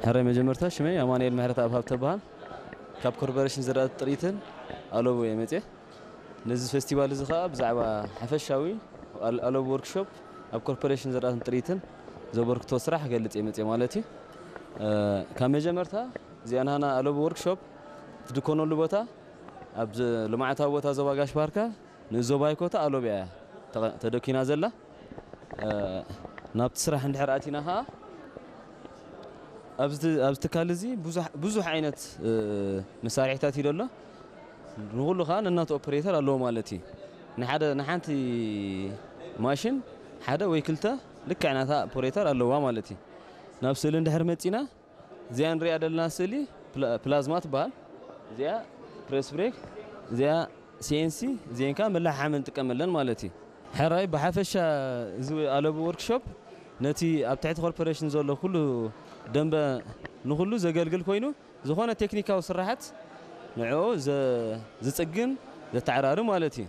ሕራይ መጀመርታ ሽመይ ኣማኑኤል ምሕረተኣብ ሃብተ በሃል። ካብ ኮርፖሬሽን ዘራእቲ ጥሪትን ኣለቡ እየ መፅየ። ነዚ ፌስቲቫል እዚ ከዓ ብዛዕባ ሓፈሻዊ ኣለቡ ወርክሾፕ ኣብ ኮርፖሬሽን ዘራእትን ጥሪትን ዘበርክቶ ስራሕ ክገልፅ እየ መፅየ ማለት እዩ። ካብ መጀመርታ እዚኣ ናና ኣለቡ ወርክሾፕ ትድኮነሉ ቦታ ኣብ ልምዓታዊ ቦታ ዞባ ጋሽ ባርካ ንዞባ ይኮታ ኣሎብ እያ ተደኪና ዘላ። ናብቲ ስራሕ እንድሕር ኣቲና ከዓ ኣብዚ ትካል እዚ ብዙሕ ዓይነት መሳርሒታት እዩ ደሎ። ንኩሉ ከዓ ነናቱ ኦፕሬተር ኣለዎ ማለት እዩ። ንሓንቲ ማሽን ሓደ ወይ ክልተ ልክዕ ናታ ኦፕሬተር ኣለዋ ማለት እዩ። ናብ ስእሊ እንድሕር መፂና እዚኣ ንሪኣ ዘለና ስእሊ ፕላዝማ ትበሃል። እዚኣ ፕሬስ ብሬክ፣ እዚኣ ሲኤንሲ፣ እዚአን ከዓ መላሓሓሚ ንጥቀመለን ማለት እዩ። ሕራይ ብሓፈሻ እዚ ኣለቡ ወርክሾፕ ነቲ ኣብ ትሕቲ ኮርፖሬሽን ዘሎ ኩሉ ደንበ ንኩሉ ዘገልግል ኮይኑ ዝኾነ ቴክኒካዊ ስራሓት ንዕኡ ዝፅግን ዘተዓራሪ ማለት እዩ።